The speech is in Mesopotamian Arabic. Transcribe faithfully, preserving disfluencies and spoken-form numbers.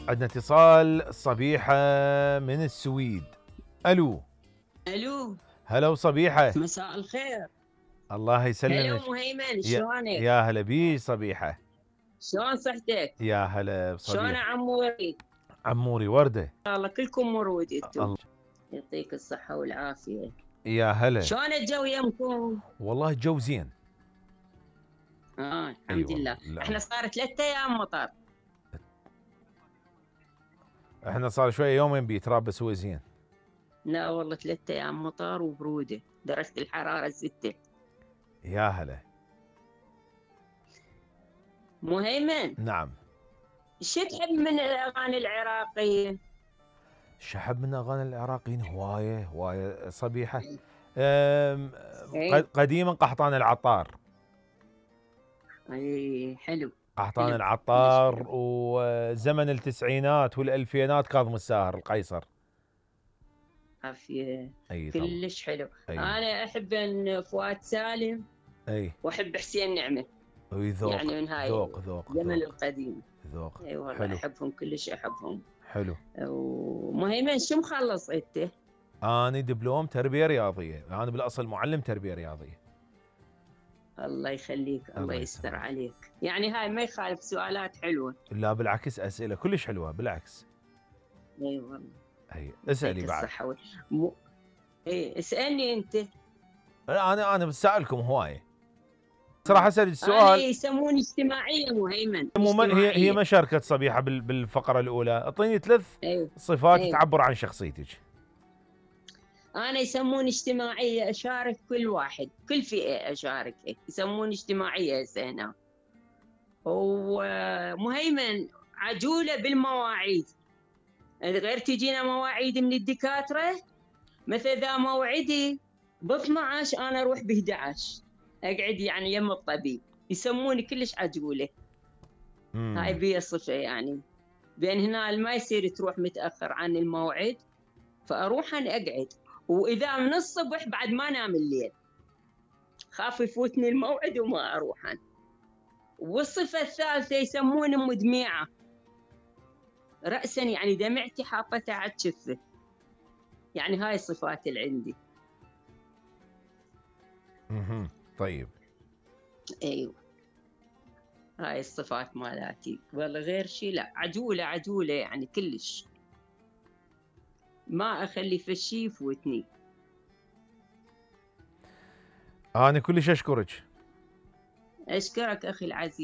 عندنا اتصال صبيحة من السويد. الو الو هلا وصبيحة. مساء الخير. الله يسلمك. هلا مهيمن، يا, شلونك؟ يا هلا بي صبيحة. شلون صحتك؟ يا هلا بصبيحة. شلون عموري؟ عموري وردة. الله كلكم مرود انتم. الله يعطيك الصحة والعافية. يا هلا. شلون الجو يمكم؟ والله الجو زين. اه الحمد أيوة. لله. لا. احنا صار ثلاثة ايام مطر. احنا صار شوية يومين بيتراب بس هو زين. لا والله ثلاثة ايام مطر وبرودة، درجة الحرارة ستة. يا هلا. مهيمن. نعم. شو تحب من الاغاني العراقية؟ شحب من اغاني العراقيين هواية هواية صبيحة. ايه. قديما قحطان العطار. اي حلو. قحطان حلو. العطار وزمن التسعينات والالفينات كاظم الساهر القيصر. عافية. اي كلش حلو. أي. انا احب ان فؤاد سالم. اي. واحب حسين نعمة. اي ذوق. يعني من هاي ذوق ذوق الزمن القديم. ذوق. اي والله حلو. احبهم كلش احبهم. حلو. ومهيمن شو مخلص انت؟ انا دبلوم تربية رياضية، انا بالاصل معلم تربية رياضية. الله يخليك، الله, الله يستر عليك. يعني هاي ما يخالف، سؤالات حلوة. لا بالعكس اسئلة كلش حلوة بالعكس. اي والله. اي اسألي بعد. الصحة وال... م... اي اسألني انت. انا انا بسألكم هواية. صراحة اسأل السؤال. أنا يسموني اجتماعية مهيمن. اجتماعية. هي هي ما شاركت صبيحة بالفقرة الأولى، اعطيني ثلاث أيوه. صفات أيوه. تعبر عن شخصيتك. أنا يسموني اجتماعية، أشارك كل واحد، كل فئة أشارك، يسموني اجتماعية هسه هنا. ومهيمن عجولة بالمواعيد، غير تجينا مواعيد من الدكاترة، مثل ذا موعدي ب اثني عشر أنا أروح ب احد عشر أقعد يعني يم الطبيب، يسموني كلش عجولة. مم. هاي بي صفة يعني، بين هنا ما يصير تروح متأخر عن الموعد، فأروح أنا أقعد، وإذا من الصبح بعد ما نام الليل، خاف يفوتني الموعد وما أروح أنا. والصفة الثالثة يسموني مدمعة رأسا، يعني دمعتي حاطتها على الشفة. يعني هاي الصفات اللي عندي. اها طيب. ايوه هاي الصفات مالاتي، والله غير شيء لا. عجولة عجولة يعني كلش، ما اخلي في شيء يفوتني. انا كلش اشكرك. اشكرك اخي العزيز.